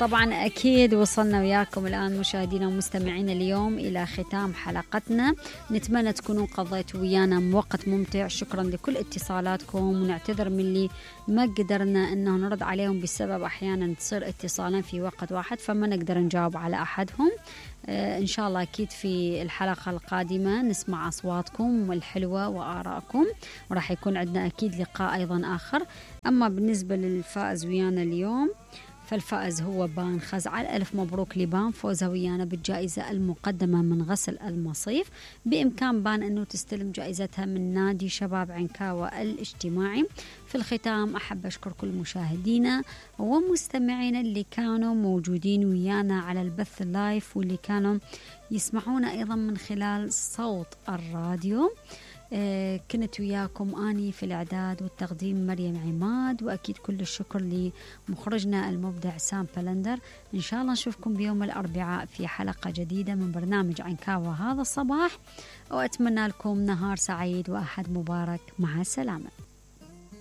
طبعا أكيد وصلنا وياكم الآن مشاهدينا ومستمعينا اليوم إلى ختام حلقتنا. نتمنى تكونوا قضيتوا ويانا وقت ممتع. شكرا لكل اتصالاتكم، ونعتذر من اللي ما قدرنا أنه نرد عليهم بسبب أحيانا تصير اتصالين في وقت واحد فما نقدر نجاوب على أحدهم. إن شاء الله أكيد في الحلقة القادمة نسمع أصواتكم الحلوة وآراءكم، وراح يكون عندنا أكيد لقاء أيضا آخر. أما بالنسبة للفائز ويانا اليوم فالفائز هو بان خزعل. ألف مبروك لبان، فوزها ويانا بالجائزة المقدمة من غسل المصيف. بإمكان بان أنه تستلم جائزتها من نادي شباب عنكاوة الاجتماعي. في الختام أحب أشكر كل مشاهدينا ومستمعينا اللي كانوا موجودين ويانا على البث اللايف، واللي كانوا يسمعونا أيضا من خلال صوت الراديو. كنت وياكم أني في الإعداد والتقديم مريم عماد، وأكيد كل الشكر لمخرجنا المبدع سام بلندر. إن شاء الله نشوفكم بيوم الأربعاء في حلقة جديدة من برنامج عنكاوة هذا الصباح، وأتمنى لكم نهار سعيد وأحد مبارك. مع السلامة.